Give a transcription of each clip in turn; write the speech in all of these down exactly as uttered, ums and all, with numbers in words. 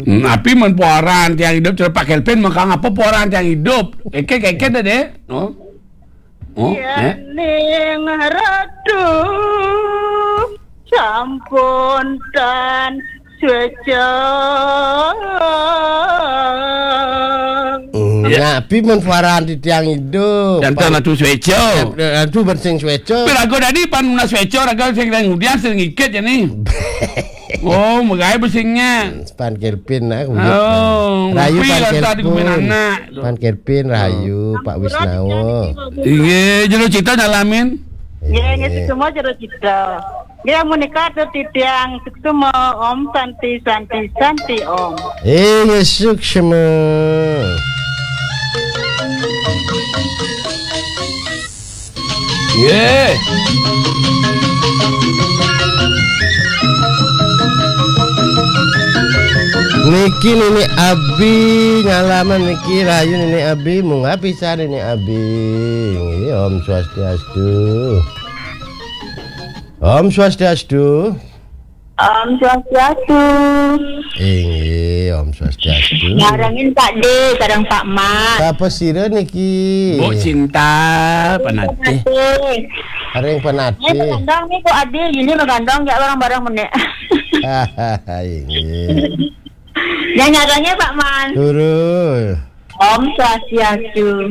Hmm, api men puaran tiang idup, cara Pak Kelvin mengkang apa puaran tiang idup? Keke, keke dah deh. Oh. Oh, eh? Ning Ratu sampun tan sueca. Hmm, ya, api men puaran di tiang idup. Dan tan Ratu sueca. Dan, dan Ratu bensing sueca. Tapi raga tadi pan muna sueca, raga sing ngudian sing ikit ya nih. Oh, megai besingnya. Pan Kelvin lah, kulit. Oh, Rayu ngupi Pan lah tadi Kelvin. Kumain anak. Pan Kelvin, Rayu, Pak Wisnawa. Iya, jero cita nyalamin. Iya, iya, semua jero cita. Dia menikah tuh titiang semua Om Santi, Santi, Santi Om. Eh, ya, suksma. Nggih. Niki Nini Abi nyalaman niki, rahayu Nini Abi, munggah pisan Nini Abi. Nggih, Om Swastiastu. Om Swastiastu. Om Swastiastu. Inggih, Om Swastiastu. Nyarengin Pak D, sareng Pak Mat. Sapa sira niki? Bu Cinta, Panatih. Panatih. Areng Panatih. Ini magandong nih, Bu Adi. Ini magandong, ya, bareng-bareng menek. Inggih. Ya, nyarengin Pak Mat. Turu. Om Swastiastu.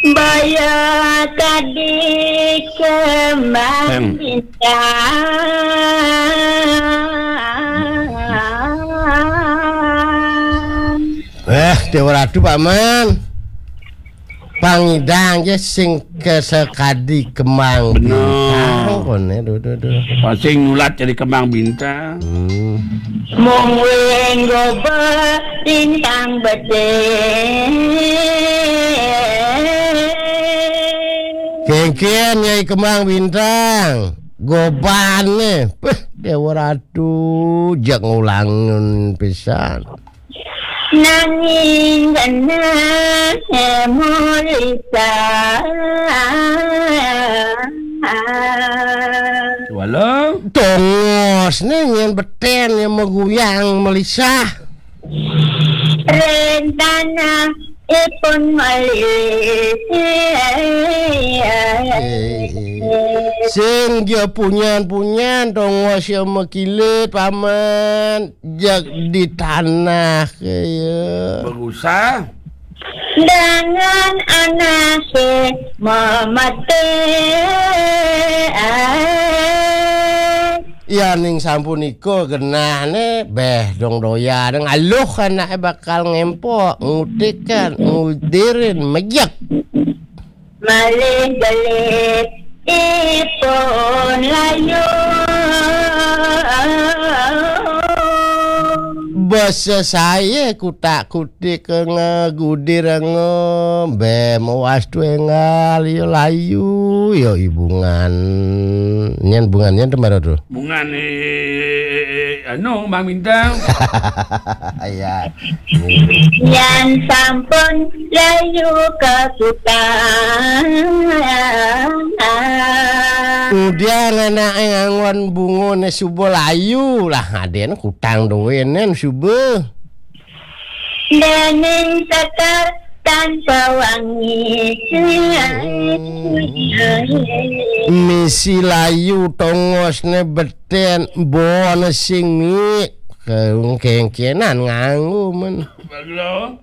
Baya tadi kembang Em. Bintang. Eh, Dewa Ratu, Paman. Pangidang ya sing kesekadi kembang Bener. Bintang, kone, duh, duh, duh. Sing nulat jadi kembang bintang. Hmm. Mung wenggo betintang bedhe. Kengken Nyai Kembang Bintang. Gobane. Peh, Dewa Ratu, jak ngulangun pisan. Nanging genah mulisa. Wala. Tongos ne nyen beten yang meguyang melisah. Rencana ipun malih. Sing dia punyan-punyan, tongos yang mekilit, Paman. Jak di tanah kaya. Berusah. Dengan anake mamate. Ya ning sampun iko genahne beh dong doyan ngaluh anake bakal ngempok, ngutikan, ngudirin, mejek. Malih gelit ipun layu. Basa saya kutak-kutik ngegudir ngembe mewas tuengal ya layu ya ibungan. Nyen bungan nyen temara tu. Bungan, eh, eh, eh, anu, Mang Bintang. Ya. Yan sampun layu ke kutang. Kemudian anake nganggon bungone suba layu lah, aden kutang duwenen suba. Dening sekar tanpa wangi. Misi layu tongosne beten, bone sing mik. Kengkenan nganggo men. Baglo.